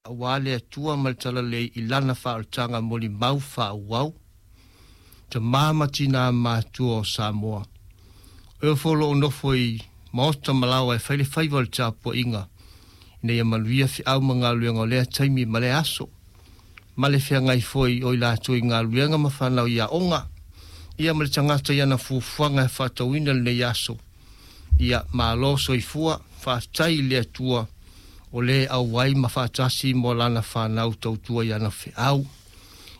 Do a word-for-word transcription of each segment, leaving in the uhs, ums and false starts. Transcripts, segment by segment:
Aua le Atua ma le Talalelei i Lana faaolataga molimau faaauau, tama ma tinā matutua o Samoa. O e foi o lo o nofo i maota ma laoa e fai le faiva o le tapuaiga, ina ia manuia feau ma galuega o lea taimi ma lea aso, ma le feagai foi o i latou i galuega ma fanau i aoga, ia ma le tagata i ana fuafuaga e faatauina lenei aso. Ia malo soifua, faafetai i le Atua o le auai ma faatasi mo lana fanau tautua i ana feau.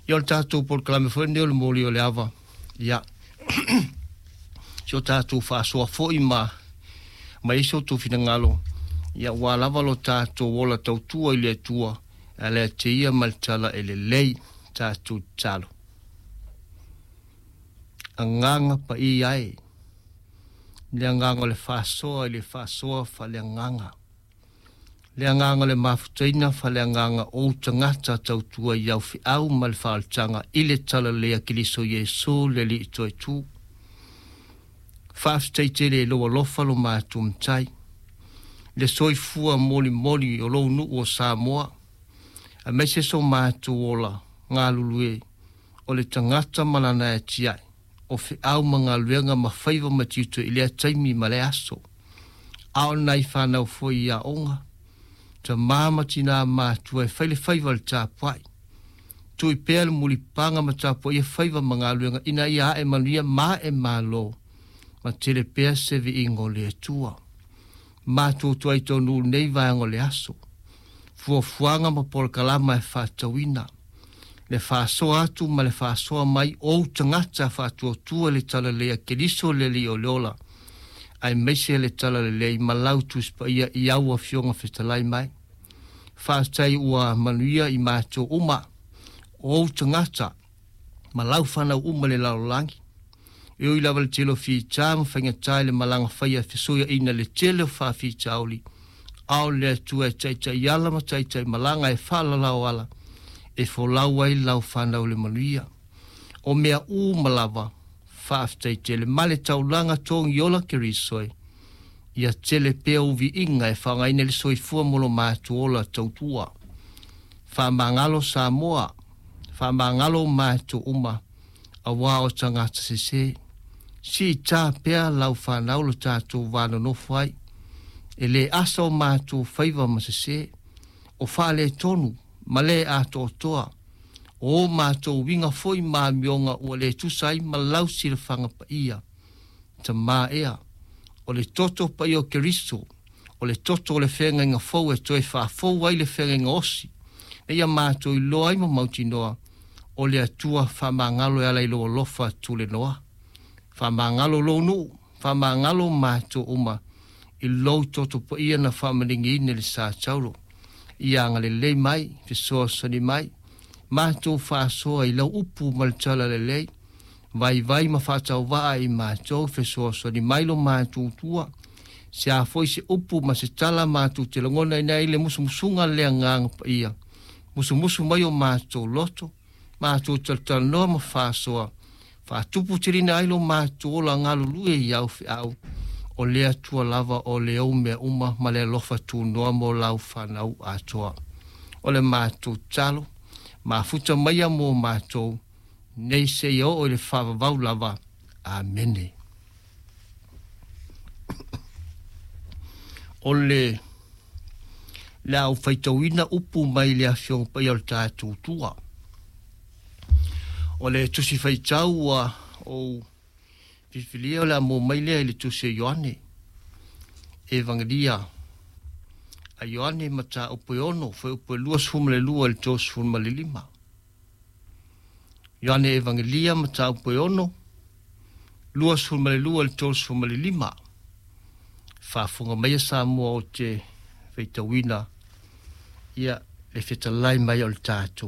Ia o le tatou polokalame foi lenei o le moli o le ava, ia si o tatou faasoa foi ma ma i so outou finagalo, ia ua lava lo tatou ola tautua i le Atua, e ala te ia ma le tala e lelei tatou tatalo. Agaga paia e, le agaga o le faasoa i le faasoa faaleagaga, le agaga o le mafutaina faaleagaga o ou tagata tautua i au feau ma le faaolataga i le Talalelei a Keriso Iesu le Alii Toetu. Faafetai tele i lou alofa lo matou Matai, le soifua molimoli o lou nuu o Samoa, aemaise so matou ola galulue o le tagata ma lana atiae, o feau ma galuega ma faiva ma tiute i lea taimi ma lea aso. A o nai fanau foi i aoga, tamā ma tinā matutua e fai le faiva o le tapuai, tui pea le mulipaga ma tapuaia faiva ma galuega ina ia ae manuia ma ae malo, ma tele pea se viiga o le Atua. Matou tuai tonu nei vaega o le aso, fuafuaga ma polokalama e faatatauina, le faasoa atu ma le faasoa mai o ou tagata faatuatua le Talalelei a Keriso le Alii o le ola, aemaise le Talalelei ma lau Tusi Paia i au afioga fetalai mai. Faafetai ua manuia i matou uma, o ou tagata ma lau fanau uma le lalolagi. E ui lava le tele o fita ma faigata i le malaga faia fesuiaiga le tele o faafitauli, a o le Atua e taitai ala ma taitai malaga e faalalau ala, e folau ai lau fanau le manuia. O mea uma lava, faafetai tele ma le taulaga togi ola Keriso e, ia tele pea uviiga e faaaogaina le soifua mo lo matou ola tautua. Faamagalo Samoa, faamagalo matou uma, aua o tagata sese. Siita pea lau fanau lo tatou va nonofo ai, e le asa o matou faiva ma sese, o faaletonu ma le atoatoa, o matou uiga foi ma amioga ua le tusa ai ma lau silafaga paia. Tamā ea, o le toto paia o Keriso, o le toto o le feagaiga fou e toe faafou ai le feagaiga osi, ina ia matou iloa ai ma mautinoa, o le Atua faamagalo e ala i lou alofa tulenoa. Faamagalo lou nuu, faamagalo matou uma, i lou toto paia na faamaligiina i le sa taulo. Ia agalelei mai, fesoasoani mai, matou faasoa i lau upu ma le talalelei, vaivai ma faatauvaa i matou, fesoasoani mai lo matou tua, se a foi se upu ma se tala matou te lagona ina ai le musumusuga le agaga paia, musumusu mai o matou loto, matou talatalanoa ma faasoa, faatuputeleina ai lo matou ola galulue i au feau, o le Atua lava o le ou mea uma ma le alofa tunoa mo lau fanau atoa. O le matou tatalo, mafuta maia mo matou, nei seia oo i le faavavau lava. Amene. O le le a ou faitauina upu mai le afioga paia o le tatou tua. O le tusi faitau ua ou filifilia o le a mo mai lea i le tusi a Ioane, Evangelia a Ioane mataupu e ono, fuaiupu e luasefulu ma le lua i le tolusefulu ma le lima. Ioane Evangelia mataupu e ono, luasefulu ma le lua i le tolusefulu ma le lima. Faafofoga maia Samoa ou te faitauina ia le fetalai mai o le tatou